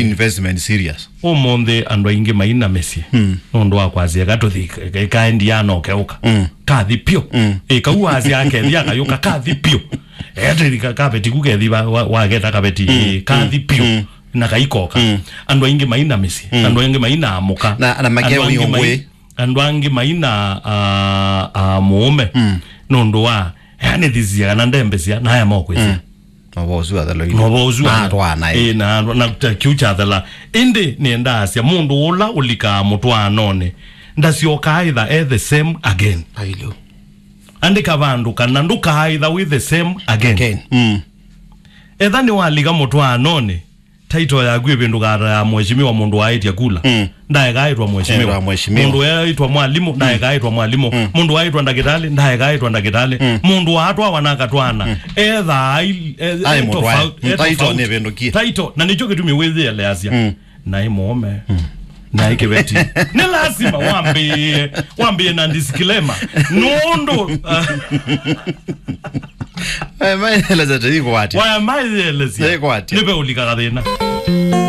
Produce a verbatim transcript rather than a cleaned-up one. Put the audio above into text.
Investment serious. Ũmũnthĩ andũ aingĩ maina mĩsyĩ. Mm. Nũndũ wa kwasya eka tũthi, eka endi yana ũkeũka. Mm. Kathi pyũ. Mm. Ĩ, kau wasya akethi akayũka kathi pyũ. Ete ka-, kapeti ku kethi wa, wa, wageta kapeti. Mm. Ĩ, kathi pyũ. Mm. Na kaikoka. Mm. Andũ aingĩ maina mĩsyĩ. Mm. Andũ aingĩ maina amũka. Na, na makeo Andũ angĩ mai-, yongwe. Andũ angĩ maina, a, a, mũũme. Mm. Nũndũ wa, yani, thisia kana ndembesya, naya mokwĩsya. Mm. Novosu athelo ino. Novosu Na atwana, eh. Ĩ, na, na ta kiu kyathela. Ĩndĩ nĩendaasya mũndũ ũla ũlikaa mũtwaanonĩ, ndasyokaa ĩtha e the same again. Ailu. Andĩka vandũ kana ndũkaaĩtha wĩ the same again. Again. Mm. Etha nĩwalika mũtwaanonĩ, title yaku ĩvĩndũkaa ta ya mheshimiwa, mũndũ waĩtya kula. Mm. Ndaekaĩtwa mheshimiwa. Ĩtwa mheshimiwa. Mũndũ waĩtwa mwalimũ, mm, ndaekaĩtwa mwalimũ. Mm. Mũndũ waĩtwa ndakĩtalĩ, ndaekaĩtwa ndakĩtalĩ. Mm. Mũndũ waatwawa na akatwana. Mm. Etha ai-, e-, Aĩ e mũtwae. Tofauti, e Title tofauti. Nĩvĩndũkie. Title, na nĩkyo kĩtumi wĩyĩeleasya. Mm. Naĩ mũũme. Mm. Naĩ kĩveti. Nĩ lazima wambĩĩe, wambĩĩe na disclaimer. Nũndũ, uh, Aya maeleza teikwatya. Waya maeleza. Teikwatya. Nĩve ũlikaga thĩna.